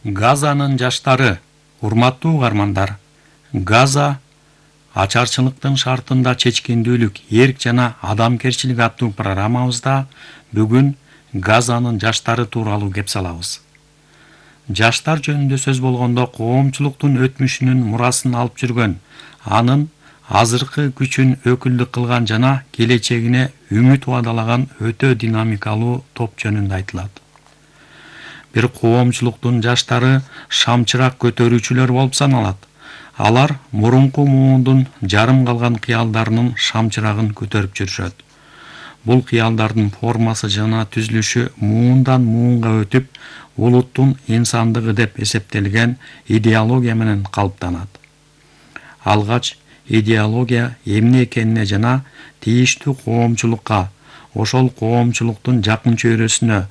Газанын жаштары, урматтуу угармандар. Газа ачарчылыктын шартында чечкиндүүлүк, эрк жана адамгерчилик аттуу программабызда бүгүн Газанын жаштары тууралуу кеп салабыз. Жаштар жөнүндө сөз болгондо коомчулуктун өтмүшүнүн мурасын алып жүргөн, анын азыркы күчүн өкүлдүк кылган жана келечегине үмүт убадалаган өтө динамикалуу топ жөнүндө айтылат. Бир коомчулуктун жаштары шамчырак көтөрүүчүлөр болуп саналат. Алар мурунку муундун жарым калган кыялдарынын шамчырагын көтөрүп жүрүшөт. Бул кыялдардын формасы жана түзүлүшү муундан муунга өтүп, улуттун инсандыгы деп эсептелген идеология менен калыптанат. Алгач идеология эмне экенине жана тийиштүү коомчулукка, ошол коомчулуктун жакын чөйрөсүнө,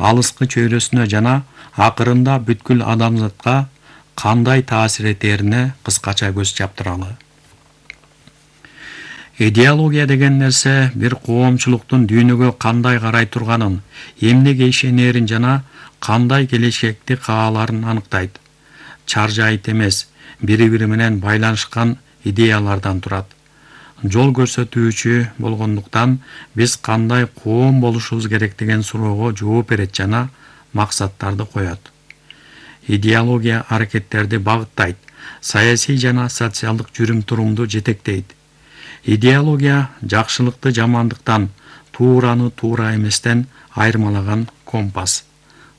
алыскы чөйрөсүнө жана акырында бүткүл адамзатка кандай таасир этерине кыскача көз чаптыралы. Идеология деген нерсе бир коомчулуктун дүйнөгө кандай карай турганын, эмнеге ишенерин жана кандай келечекти кааларын аныктайт. Чаржайыт эмес, бири-бири менен байланышкан идеялардан турат. Жол көрсөтүүчү болгондуктан биз кандай коом болушубуз керек деген суроого жооп берет жана максаттарды коет. Идеология аракеттерди багыттайт, саясий жана социалдык жүрүм-турумду жетектейт. Идеология жакшылыкты жамандыктан, туураны туура эместен айырмалаган компас.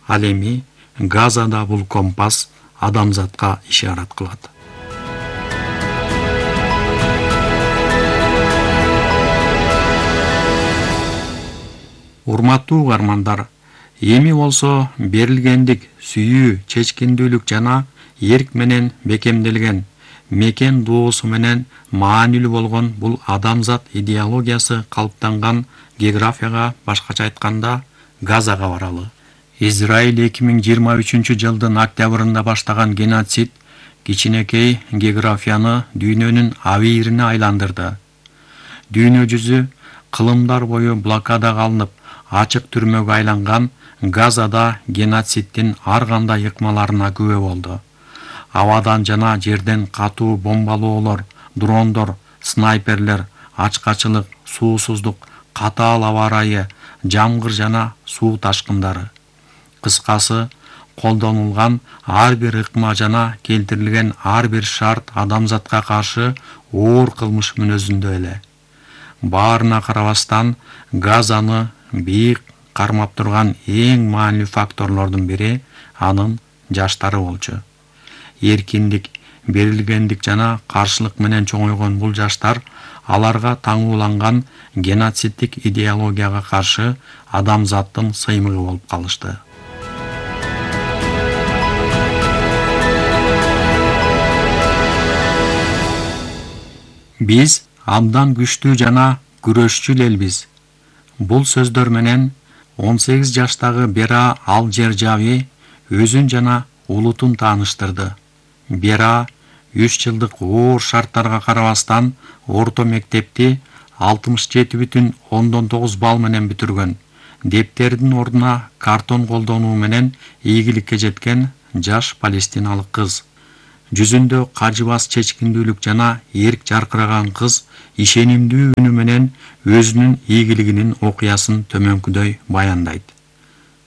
Ал эми Газада бул компас адамзатка ишарат кылат. Урматтуу угармандар, эми болсо берилгендик, сүйүү, чечкиндүүлүк жана эрк менен бекемделген, мекен доосу менен маанилүү болгон бул адамзат идеологиясы калыптанган географияга, башкача айтканда, Газага баралы. Израиль 2023-жылдын октябрында баштаган геноцид кичинекей географияны дүйнөнүн абийирине айландырды. Дүйнө жүзү кылымдар бою блокадага алынып, ачык түрмөгө айланган Газада геноциддин ар кандай ыкмаларына күбө болду. Абадан жана жерден катуу бомбалоолор, дрондор, снайперлер, ачкачылык, суусуздук, катаал аба ырайы, жамгыр жана суу ташкындары. Кыскасы, колдонулган ар бир ыкма жана келтирилген ар бир шарт адамзатка каршы оор кылмыш мүнөзүндө эле. Баарына карабастан, Газаны бийик кармап турган эң маанилүү факторлордун бири анын жаштары болчу. Эркиндик, берилгендик жана каршылык менен чоңойгон бул жаштар аларга таңууланган геноциддик идеологияга каршы адамзаттын сыймыгы болуп калышты. Биз абдан күчтүү жана күрөшчү элбиз. Бул сөздөр менен 18 жаштагы Бера Ал-Джержави өзүн жана улутун тааныштырды. Бера 3 жылдык оор шарттарга карабастан орто мектепти 67,9 балл менен бүтүргөн. Дептердин ордуна картон колдонуу менен ийгиликке жеткен жаш палестиналык кыз. Жүзүндө кажыбас чечкиндүүлүк жана эрк жаркыраган кыз ишенимдүү үнү менен өзүнүн ийгилигинин окуясын төмөнкүдөй баяндайт.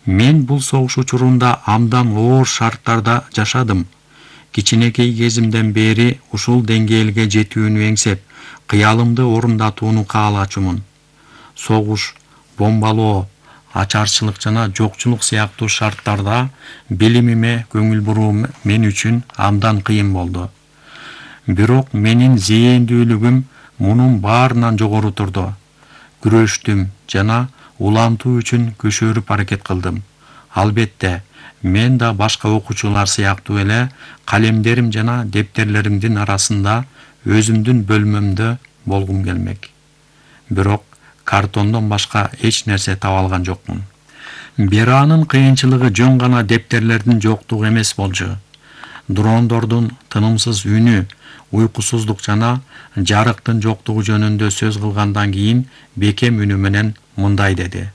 Мен бул согуш учурунда абдан оор шарттарда жашадым. Кичинекей кезимден бери ушул деңгээлге жетүүнү эңсеп, кыялымды орундатууну каалачумун. Согуш, бомбалоо, ачарчылык жана жокчулук сыяктуу шарттарда билимиме көңүл буруу мен үчүн абдан кыйын болду. Бирок менин зээндүүлүгүм мунун баарынан жогору турду. Күрөштүм жана улантуу үчүн көшөрүп аракет кылдым. Албетте, мен да башка окуучулар сыяктуу эле калемдерим жана дептерлеримдин арасында өзүмдүн бөлмөмдө болгум келмек. Бирок картондон башка эч нерсе таба алган жокмун. Беранын кыйынчылыгы жөн гана дептерлердин жоктугу эмес болчу. Дрондордун тынымсыз үнү, уйкусуздук жана жарыктын жоктугу жөнүндө сөз кылгандан кийин бекем үнү менен мындай деди.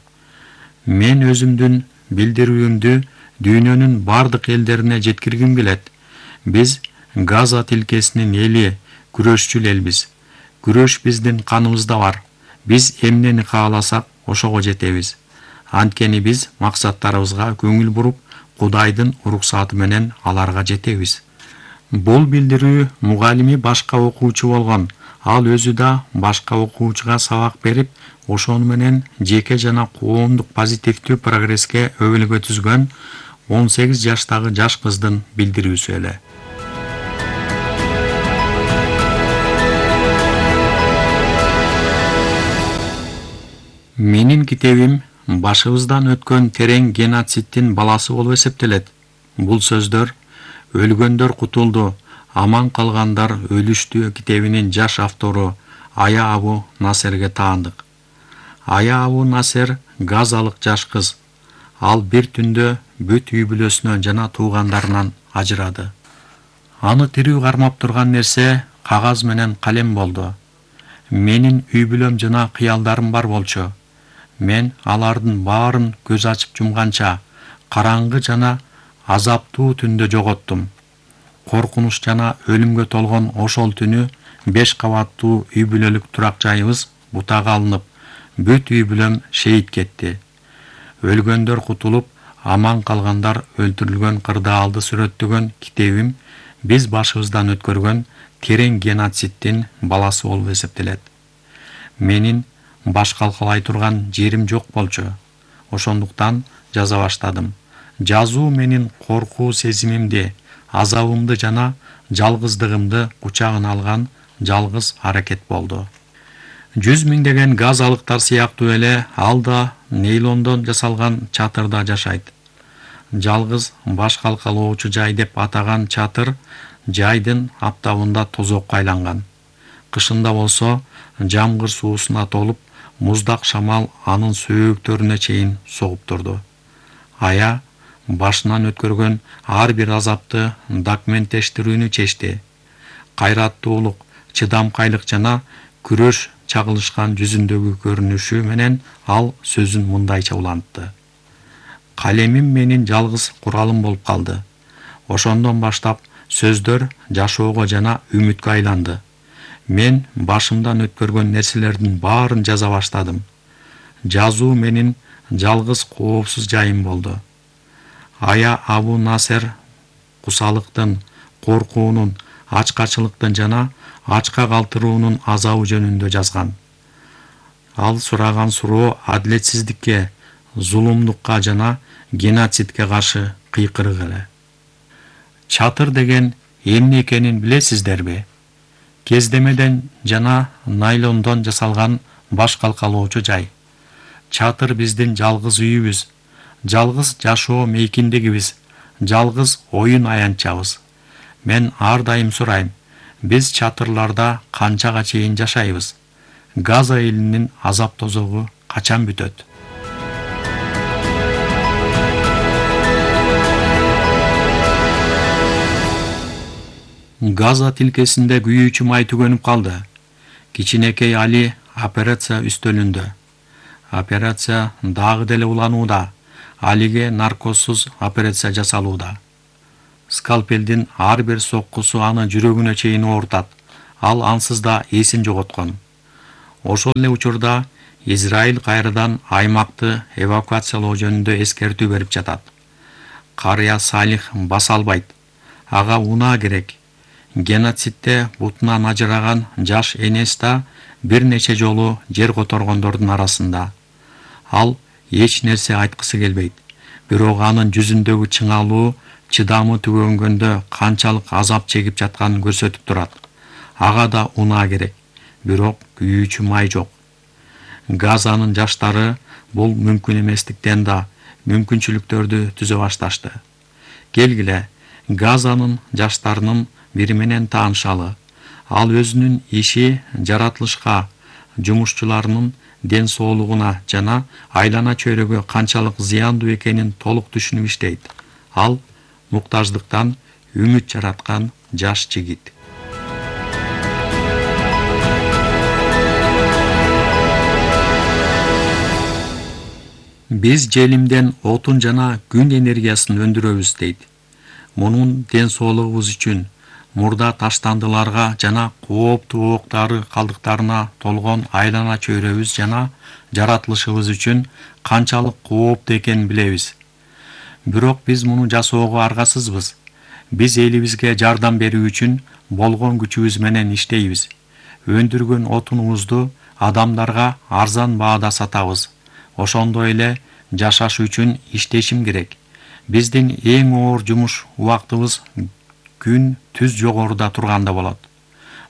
Мен өзүмдүн билдирүүмдү дүйнөнүн бардык элдерине жеткиргим келет. Биз Газа тилкесинин эли, күрөшчүл элбиз. Күрөш биздин каныбызда бар. Биз эмнени кааласак, ошого жетебиз. Анткени биз максаттарыбызга көңүл буруп, Кудайдын уруксаты менен аларга жетебиз. Бул билдирүү мугалими башка окуучу болгон. Ал өзү да башка окуучуга сабак берип, ошону менен жеке жана коомдук позитивдүү прогресске өбөлгө түзгөн 18 жаштагы жаш кыздын билдирүүсү эле. Менин китебим башыбыздан өткөн терең геноциддин баласы болуп эсептелет. Бул сөздөр «Өлгөндөр кутулду, аман калгандар өлүштү» китебинин жаш автору Ая Абу Насерге таандык. Ая Абу Насер газалык жаш кыз. Ал бир түндө бүт үй бүлөсүнөн жана туугандарынан ажырады. Аны тирүү кармап турган нерсе кагаз менен калем болду. Менин үй бүлөм жана кыялдарым бар болчу. Мен алардын баарын көз ачып жумганча караңгы жана азаптуу түндө жоготтум. Коркунуч жана өлүмгө толгон ошол түнү 5 кабаттуу үй бүлөлүк турак жайыбыз бутага алынып, бүт үй бүлөм шейит кетти. Өлгөндөр кутулуп, аман калгандар өлтүрүлгөн кырдаалды сүрөттөгөн китебим биз башыбыздан өткөргөн терең геноциддин баласы болуп эсептелет. Менин баш калкалай турган жерим жок болчу. Ошондуктан жаза баштадым. Жазуу менин коркуу сезимимди, азабымды жана жалгыздыгымды кучагына алган жалгыз аракет болду. 100 миңдеген газалыктар сыяктуу эле ал да нейлондон жасалган чатырда жашайт. Жалгыз баш калкалоочу жай деп атаган чатыр жайдын аптабында тозокко айланган. Кышында болсо жамгыр суусуна толуп, муздак шамал анын сөөктөрүнө чейин согуп турду. Ая башынан өткөргөн ар бир азапты документтештирүүнү чечти. Кайраттуулук, чыдамкайлык жана күрөш чагылышкан жүзүндөгү көрүнүшү менен ал сөзүн мындайча улантты. Калемим менин жалгыз куралым болуп калды. Ошондон баштап сөздөр жашоого жана үмүткө айланды. Мен башымдан өткөргөн нерселердин баарын жаза баштадым. Жазуу менин жалгыз коопсуз жайым болду. Ая Абу Насер кусалыктын, коркуунун, ачкачылыктын жана ачка калтыруунун азабы жөнүндө жазган. Ал сураган суроо адилетсиздикке, зулумдукка жана геноцидке каршы кыйкырык эле. Чатыр деген эмне экенин билесиздерби? Кездемеден жана найлондон жасалган баш калкалоочу жай. Чатыр биздин жалгыз үйүбүз, жалгыз жашоо мейкиндигибиз, жалгыз оюн аянтчабыз. Мен ар дайым сурайм, биз чатырларда канчага чейин жашайбыз? Газа элинин азап тозогу качан бүтөт? Газа тилкесинде күйүүчү май түгөнүп калды. Кичинекей Али операция үстөлүндө. Операция дагы деле уланууда. Алиге наркозсуз операция жасалууда. Скальпелдин ар бир соккусу аны жүрөгүнө чейин оорутат. Ал ансыз да эсин жоготкон. Ошол эле учурда Израиль кайрадан аймакты эвакуациялоо жөнүндө эскертүү берип жатат. Карыя Салих баса албайт. Ага унаа керек. Геноцидде бутунан ажыраган жаш энес да бир нече жолу жер которгондордун арасында. Ал эч нерсе айткысы келбейт. Бирок анын жүзүндөгү чыңалуу, чыдамы түгөнгөндө канчалык азап чегип жатканын көрсөтүп турат. Ага да унаа керек. Бирок күйүүчү май жок. Газанын жаштары бул мүмкүн эместиктен да мүмкүнчүлүктөрдү түзө башташты. Келгиле, Газанын жаштарынын бири менен таанышалы. Ал өзүнүн иши жаратылышка, жумушчуларынын ден соолугуна жана айлана чөйрөгө канчалык зыяндуу экенин толук түшүнүп иштейт. Ал муктаждыктан үмүт жараткан жаш жигит. Биз желимден отун жана күн энергиясын өндүрөбүз дейт. Мунун ден соолугубуз үчүн, мурда таштандыларга жана кооптуу ок дары калдыктарына толгон айлана чөйрөбүз жана жаратылышыбыз үчүн канчалык кооптуу экенин билебиз. Бирок биз муну жасоого аргасызбыз. Биз элибизге жардам берүү үчүн болгон күчүбүз менен иштейбиз. Өндүргөн отунубузду адамдарга арзан баада сатабыз. Ошондой эле жашаш үчүн иштешим керек. Биздин эң оор жумуш убактыбыз күн түз жогоруда турганда болот.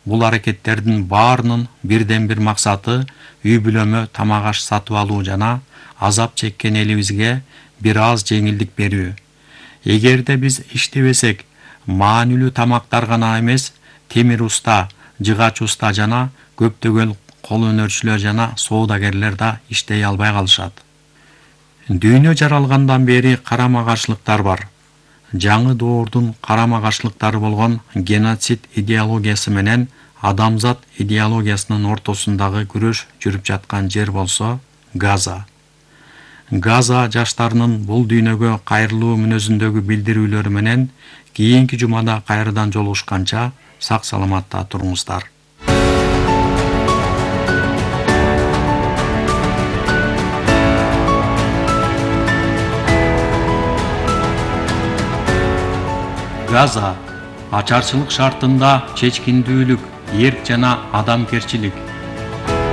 Бул аракеттердин баарынын бирден бир максаты үй бүлөмө тамак аш сатып алуу жана азап чеккен элибизге бир аз жеңилдик берүү. Эгерде биз иштебесек, маанилүү тамактар гана эмес, темир уста, жыгач уста жана көптөгөн кол өнөрчүлөр жана соодагерлер да иштей албай калышат. Дүйнө жаралгандан бери карама-каршылыктар бар. Жаңы доордун карама-каршылыктары болгон геноцид идеологиясы менен адамзат идеологиясынын ортосундагы күрөш жүрүп жаткан жер болсо Газа. Газа жаштарынын бул дүйнөгө кайрылуу мүнөзүндөгү билдирүүлөрү менен кийинки жумада кайрадан жолугушканча сак саламатта туруңуздар. Газа ачарчылык шартында чечкиндүүлүк, эрк жана адамгерчилик